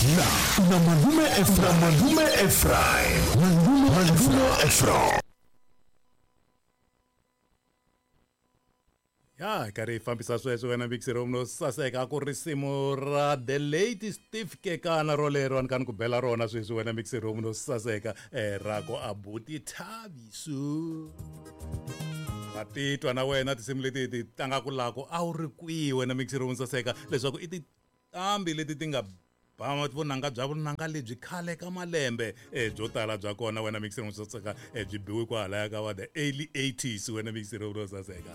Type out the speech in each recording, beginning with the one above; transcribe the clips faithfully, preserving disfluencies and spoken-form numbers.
Na na Malume Ephraim, Malume Ephraim, Malume Malume Ephraim. Ya karhi hi fambisa sweswo wena mixero no saseka ku risimu ra the late Steve Kekana rolero a ni ka ni ku bela rona sweswi wena mixero no saseka eh, ra ku abuti Thabiso. Va titwa na wena tinsimu leti ti tlangaku lako a wu ri kwihi wena mixero no saseka leswaku i tinqambi leti ti nga ba vunanga bya vunanga lebyi khale ka malembe eh, byo tala bya kona wena mixero no saseka eh, byi biwe kwalaya ka va the early eighties wena mixero no saseka.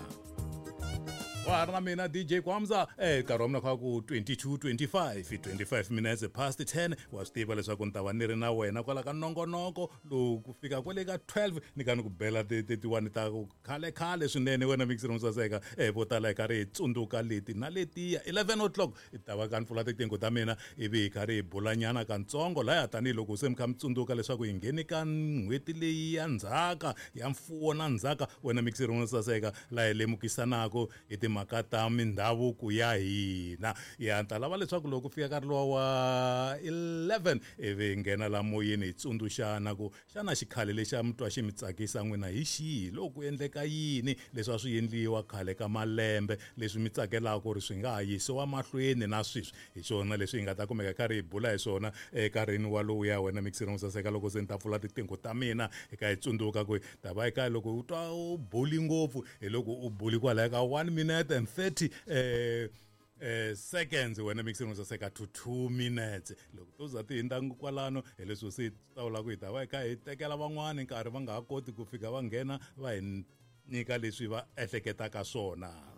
Wa ri na mina D J Kwamza eh nkarhi wa mina kha ku twenty-two twenty-five twenty-five minutes past ten wa swi tiva leswaku ni ta va ni ri na wena kwala ka nongonoko lowu ku fika kwale ka twelve ni ka ni ku bela ti-one ta ku khale khale swinene wena mixero no saseka eh vo tala hi karhi hi tsundzuka leti na letiya eleven o'clock hi ta va ka ni pfula tinqingho ta mina ivi hi karhi hi bulanyana kantsongo laya tanihiloko se mi kha mi tsundzuka leswaku hi ngheni ka n'hweti leyi ya ndzhaka ya mfuwo na ndzhaka wena mixero no saseka laha hi lemukisanaka hi timhaka ta mindhavuko ya hina. Ya ta lava leswaku loko ku fika nkarhi luwa wa eleven ivi hi nghena la moyeni hi tsundzuxana ku xana xikhale lexi a mi twa xi mi tsakisa n'wina hi xihi, loko ku endleka yini leswi a swi endliwa khale ka malembe leswi mi tsakelaka ku ri swi nga ha yisiwa mahlweni na sweswi. Hi swona leswi hi nga ta kumeka karhi hi bula hi swona enkarhini walowuya wena mixero no saseka loko se ni ta pfula tinqingho ta mina hi ka hi tsundzuka ku ta va eka loko u twa u buli ngopfu hi loko u buli kwalaya ka one minute and thirty eh eh seconds wena mixero no saseka to two minutes loko to za ti hindza kwalano hi leswi se ta vula ku hi ta va hi kha hi tekela van'wani nkarhi va nga ha koti ku fika va nghena va hi nyika leswi va ehleketaka swona.